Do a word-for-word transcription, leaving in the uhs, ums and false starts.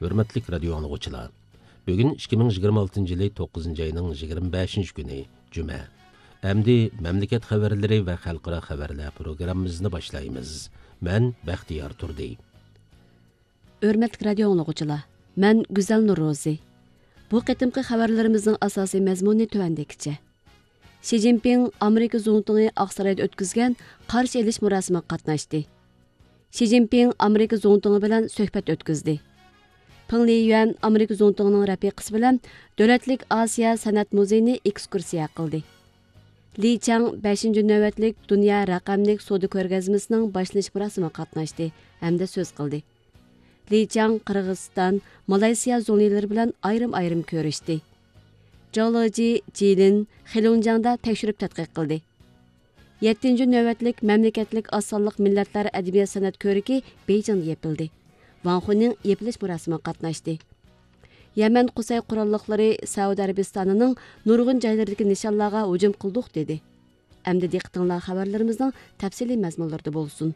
ھۆرمەتلىك رادىيو ئاڭلىغۇچىلار، بۈگۈن ئىككى مىڭ يىگىرمە ئالتىنچى يىلى توققۇزىنچى ئاينىڭ يىگىرمە بەشىنچى كۈنى، جۈمە. ئەمدى مەملىكەت خەۋەرلىرى ۋە خەلقئارا خەۋەرلەر پروگراممىمىزنى باشلايمىز. مەن بەختىيار تۇردى. ھۆرمەتلىك رادىيو ئاڭلىغۇچىلار، مەن گۈزەل نۇرروزى. بۇ قېتىمقى خەۋەرلىرىمىزنىڭ ئاساسىي مەزمۇنى تۆۋەندىكىچە. شى جىنپىڭ ئامېرىكا زۇڭتۇڭى ئاقسارايدا ئۆتكۈزگەن قارشى ئېلىش مۇراسىمىغا قاتناشتى. شى جىنپىڭ ئامېرىكا زۇڭتۇڭى بىلەن سۆھبەت ئۆتكۈزدى. پېڭ لىيۈەن ئامېرىكا زۇڭتۇڭىنىڭ رەپىقىسى بىلەن دۆلەتلىك ئاسىيا سەنئەت مۇزېيىنى ئېكسكۇرسىيە قىلدى. لى چاڭ بەشىنچى نۆۋەتلىك دۇنيا رەقەملىك سودا كۆرگەزمىسىنىڭ باشلىنىش مۇراسىمىغا قاتناشتى ھەمدە سۆز قىلدى. لى چاڭ قىرغىزىستان، مالايسىيا زۇڭلىلىرى بىلەن ئايرىم-ئايرىم كۆرۈشتى. جاۋ لېجى، جىلىن، خېلۇنجياڭدا تەكشۈرۈپ تەتقىق قىلدى. يەتتىنچى نۆۋەتلىك مەملىكەتلىك ئاز سانلىق مىللەتلەر ئەدەبىيات سەنئەت كۆرىكى بېيجىڭدا يېپىلدى. ۋاڭ خۇنىڭ يېپىلىش مۇراسىمىغا قاتناشتى. يەمەن قۇسەي قوراللىقلىرى سەئۇدى ئەرەبىستانىنىڭ نۇرغۇن جايلىرىدىكى نىشانلارغا ھۇجۇم قىلدۇق، دېدى. ئەمدى دىققىتىڭلار خەۋەرلىرىمىزنىڭ تەپسىلىي مەزمۇنلىرىدا بولسۇن.